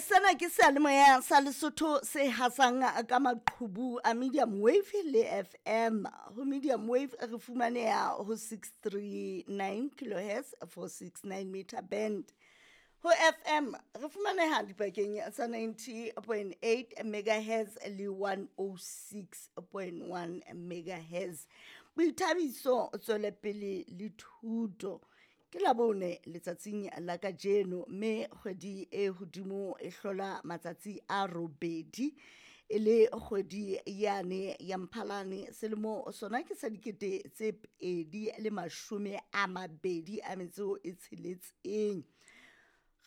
Sena ke seyalemoya sa Lesotho se hasang ka maqhubu a medium wave le FM. Ho medium wave re fumaneha ho 639 kilohertz 469 meter band. Ho FM re fumaneha dipakeng tsa 90.8 megahertz le 106.1 megahertz. Boithabiso, tswelepele le thuto. Ke Labone letsatsing la kajeno, mme kgwedi e hodimo e hlola matsatsi a robedi e le kgwedi yane ya Mphalane, selemo sona ke sa 2026.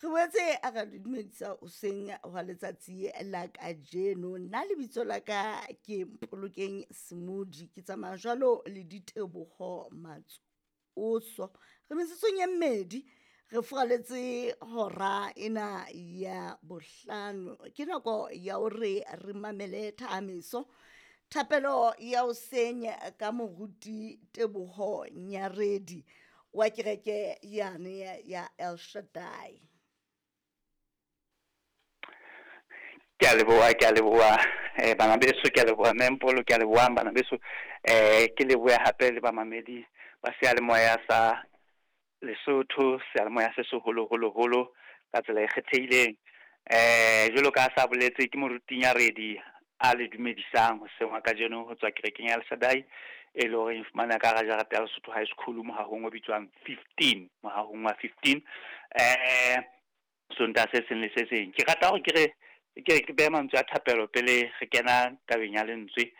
Re boetse a re le dumedisa hoseng hwa letsatsi la kajeno. Nna lebitso la ka ke Mpolokeng Semodi, ke tsamaya jwalo le Diteboho Matsoso. Re metsotsong e mmedi re furaletse hora ena ya bohlano. Ke nako ya hore re mamele thahamiso, thapelo ya hoseng ka moruti Teboho Nyaredi wa kereke yane ya El Shaddai. Ke a leboha, ke a leboha bana beso, ke a leboha Mempolo, ke a leboha bana beso. Ke lebohe hape le bamamedi ba seyalemoya sa Lesotho, seyalemoya se seholo holo holo ka tsela e kgethehileng. Jwalo ka sa boletse, ke moruti Nyaredi a le dumedisang hoseng wa kajeno ho tswa kerekeng ya El Shaddai, e leng hore e fumaneha ka hara jarete ya Lesotho High School, mohahong o bitswang 15, mohahong wa 15. Sontaha se seng le se seng ke rata hore ke re ke behe mantswe a thapelo pele re kena tabeng ya lentswe.